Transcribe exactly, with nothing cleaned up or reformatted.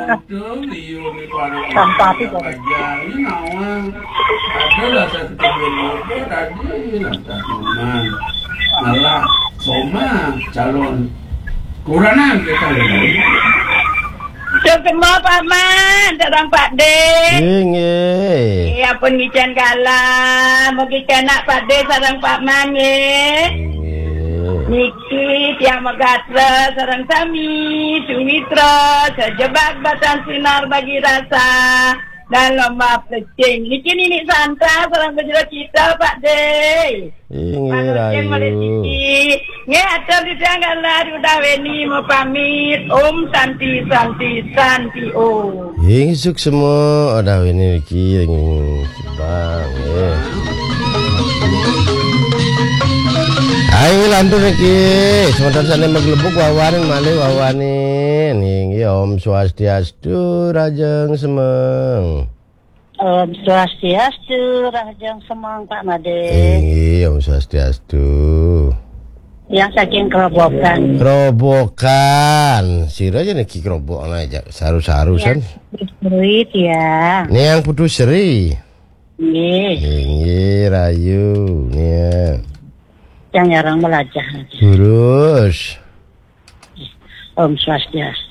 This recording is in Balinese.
Untung liur ni para Sampai aja ini nawang. Ada lah satu kali liur tadi lah tak aman. Malah soma calon kuranan kita ini. Semua Pak Man, sareng Pak De. Inggih. Ya pun ngican galah, mugi kenak Pak De sareng Pak Man nggih. Inggih. Niki tiang megatra sareng sami, sumitra, sejebak batan sinar bagi rasa, dan lomba plecing. Niki Nini Santa sareng bejero kita, Pak De. Inggih, Pak Nurjin, Malik rahayu. Siti. Nggih, atur titiang galah Uda Weni mau pamit. Om Santi, Santi, Santi Om. Inggih, suksma Uda Weni niki ring Kibang, nggih. Ayo lantur niki, semeton sane maglebuk wawanin malih wawanin. Inggih, Om Swastiastu, rahajeng semeng. Om Swastiastu, rahajeng semeng, Pak Made. Inggih, Om Swastiastu. Yang saking Kerobokan. Kerobokan. Sira aja niki Kerobokan aja. Saru-saru, ya, san. Putu Sri, ya. Niang Putu Sri. Nggih. Inggih, rahayu. Niang. Yang nyarang melajah. Terus. Om Swastiastu.